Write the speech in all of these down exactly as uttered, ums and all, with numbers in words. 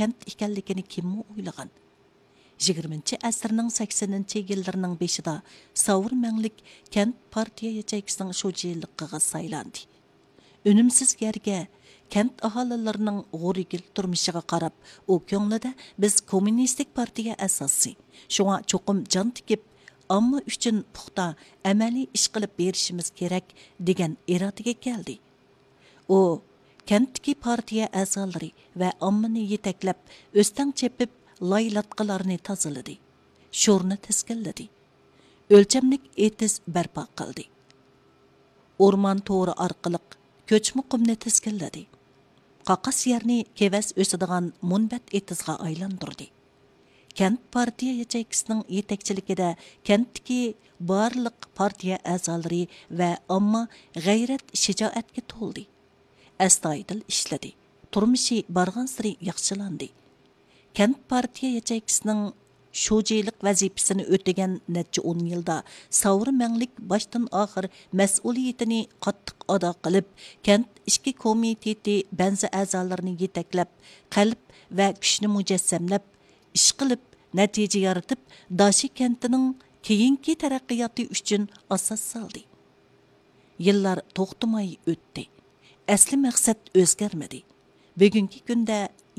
كەنت ئىكەنلىكىنى كىممۇ ئويلىغان؟ يىگىرمىنچى ئەسىرنىڭ سەكسىنىنچى يىللىرىنىڭ بېشىدا ساۋۇر مەڭلىك كەنت پارتىيە ياچېيكىسىنىڭ شۇجىلىقىغا سايلاندى. ئۈنۈمسىز يەرگە، كەنت ئاھالىلىرىنىڭ غورىگىل تۇرمۇشىغا قاراپ، ئۇ كۆڭلىدە، بىز كوممۇنىستىك پارتىيە ئەزاسى، شۇڭا چوقۇم جان تىكىپ، ئامما ئۈچۈن پۇختا ئەمەلىي ئىش قىلىپ بېرىشىمىز كېرەك، دېگەن ئىرادىگە كەلدى. ئۇ كەنتتىكى پارتىيە ئەزالىرى ۋە ئاممىنى يېتەكلەپ، ئۆستەڭ چېپىپ، لاي لاتقىلارنى تازىلىدى، شورنى تىزگىنلىدى، ئۆلچەملىك ئېتىز بەرپا قىلدى. ئورمان تورى ئارقىلىق كۆچمە قۇمنى تىزگىنلىدى. قاقاس يەرنى كېۋەز ئۆسىدىغان مۇنبەت ئېتىزغا ئايلاندۇردى. كەنت پارتىيە ياچېيكىسىنىڭ يېتەكچىلىكىدە كەنتتىكى بارلىق پارتىيە ئەزالىرى ۋە ئامما غەيرەت، شىجائەتكە تولدى. ئەستايىدىل ئىشلىدى. تۇرمۇشى بارغانسېرى ياخشىلاندى. كەنت پارتىيە ياچېيكىسىنىڭ شۇجىلىق ۋەزىپىسىنى ئۆتىگەن نەچچە ئون يىلدا ساۋۇر مەڭلىك باشتىن ئاخىر مەسئۇلىيىتىنى قاتتىق ئادا قىلىپ، كەنت ئىچكى كومىتېتى بەنزى ئەزالىرىنى يېتەكلەپ، قەلب ۋە كۈچنى مۇجەسسەملەپ، ئىش قىلىپ، نەتىجە يارىتىپ، داشى كەنتىنىڭ كېيىنكى تەرەققىياتى ئۈچۈن ئاساس سالدى. يىللار توختىماي ئۆتتى. ئەسلى مەقسەت ئۆزگەرمىدى. بۈگۈنكى كۈندە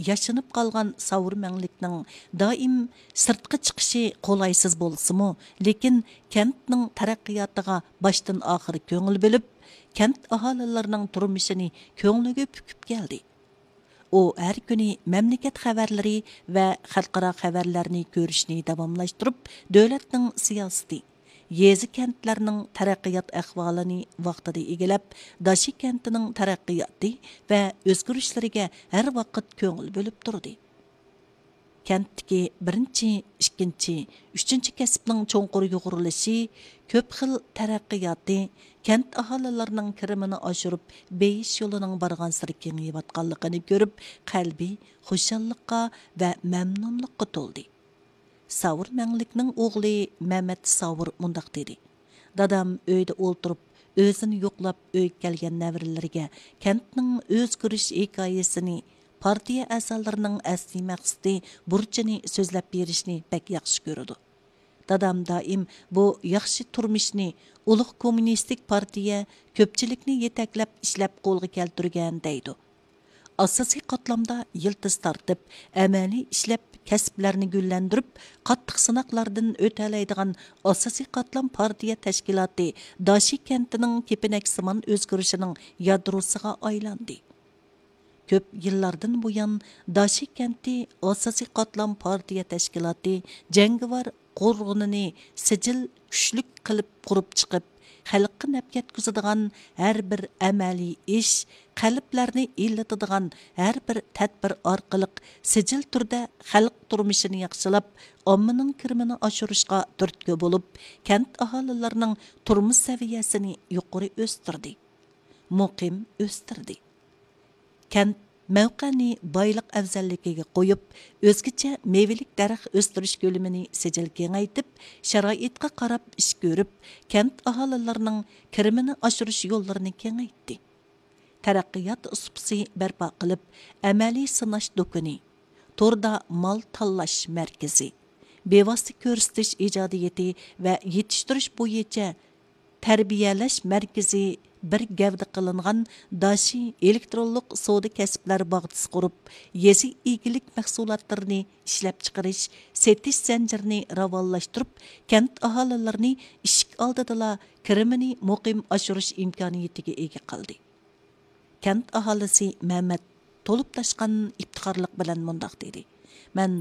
ياشىنىپ قالغان ساۋۇر مەڭلىكنىڭ دائىم سىرتقا چىقىشى قولايسىز بولسىمۇ، لېكىن كەنتنىڭ تەرەققىياتىغا باشتىن ئاخىر كۆڭۈل بۆلۈپ، كەنت ئاھالىلىرىنىڭ تۇرمۇشىنى كۆڭلىگە پۈكۈپ كەلدى. ئۇ ھەر كۈنى مەملىكەت خەۋەرلىرى ۋە خەلقئارا خەۋەرلەرنى كۆرۈشنى داۋاملاشتۇرۇپ، دۆلەتنىڭ سىياسىتى، يېزا، كەنتلەرنىڭ تەرەققىيات ئەھۋالىنى ۋاقتىدا ئىگىلەپ، داشى كەنتىنىڭ تەرەققىياتى ۋە ئۆزگىرىشلىرىگە ھەر ۋاقىت كۆڭۈل بۆلۈپ تۇردى. كەنتتىكى بىرىنچى، ئىككىنچى، ئۈچىنچى كەسىپنىڭ چوڭقۇر يۇغۇرۇلۇشى، كۆپ خىل تەرەققىياتى، كەنت ئاھالىلىرىنىڭ كىرىمىنى ئاشۇرۇپ، بېيىش يولىنىڭ بارغانسېرى كېڭىيىۋاتقانلىقىنى كۆرۈپ، قەلبى خۇشاللىققا ۋە مەمنۇنلۇققا تولدى. ساۋۇر مەڭلىكنىڭ ئوغلى مەمەت ساۋۇر مۇنداق دېدى: دادام ئۆيدە ئولتۇرۇپ، ئۆزىنى يوقلاپ ئۆيگە كەلگەن نەۋرىلىرىگە كەنتنىڭ ئۆزگىرىش ھېكايىسىنى، پارتىيە ئەزالىرىنىڭ ئەسلىي مەقسىتى، بۇرچىنى سۆزلەپ بېرىشنى بەك ياخشى كۆرىدۇ. دادام دائىم بۇ ياخشى تۇرمۇشنى ئۇلۇغ كوممۇنىستىك پارتىيە كۆپچىلىكنى يېتەكلەپ ئىشلەپ قولغا كەلتۈرگەن دەيدۇ. ئاساسىي قاتلامدا يىلتىز تارتىپ، ئەمەلىي ئىشلەپ كەسىپلەرنى گۈللەندۈرۈپ، قاتتىق سىناقلاردىن ئۆتەلەيدىغان ئاساسىي قاتلام پارتىيە تەشكىلاتى داشى كەنتىنىڭ كېپىنەكسىمان ئۆزگىرىشىنىڭ يادروسىغا ئايلاندى. كۆپ يىللاردىن بۇيان، داشى كەنتى ئاساسىي قاتلام پارتىيە تەشكىلاتى جەڭگىۋار قوزغىلىشىنى سىجىل كۈچلۈك قىلىپ قۇرۇپ چىقىپ، خەلققە نەپ يەتكۈزىدىغان ھەر بىر ئەمەلىي ئىش، قەلبلەرنى ئىللىتىدىغان ھەر بىر تەدبىر ئارقىلىق سىجىل تۈردە خەلق تۇرمۇشىنى ياخشىلاپ، ئاممىنىڭ كىرىمىنى ئاشۇرۇشقا تۈرتكە بولۇپ، كەنت ئاھالىلىرىنىڭ تۇرمۇش سەۋىيەسىنى يۇقىرى ئۆستۈردى، مۇقىم ئۆستۈردى. كەنت مەۋقەنى بايلىق ئەۋزەللىكىگە قويۇپ، ئۆزگىچە مېۋىلىك دەرەخ ئۆستۈرۈش كۆلىمىنى سىجىل كېڭەيتىپ، شارائىتقا قاراپ ئىش كۆرۈپ، كەنت ئاھالىلىرىنىڭ كىرىمىنى ئاشۇرۇش يوللىرىنى كېڭەيتتى. تەرەققىيات سۇپىسى بەرپا قىلىپ، ئەمەلىي سىناش دۇكىنى، توردا مال تاللاش مەركىزى، بىۋاسىتە كۆرسىتىش ئىجادىيىتى ۋە يېتىشتۈرۈش بويىچە تەربىيەلەش مەركىزى بىر گەۋدە قىلىنغان داشى ئېلېكترونلۇق سودا كەسىپلەر باغچىسى قۇرۇپ، يېزا ئىگىلىك مەھسۇلاتلىرىنى ئىشلەپچىقىرىش، سېتىش زەنجىرىنى راۋانلاشتۇرۇپ، كەنت ئاھالىلىرىنى ئىشىك ئالدىدىلا كىرىمىنى مۇقىم ئاشۇرۇش ئىمكانىيىتىگە ئىگە قىلدى. كەنت ئاھالىسى مەمەت تولۇپ تاشقان ئىپتىخارلىق بىلەن مۇنداق دېدى: مەن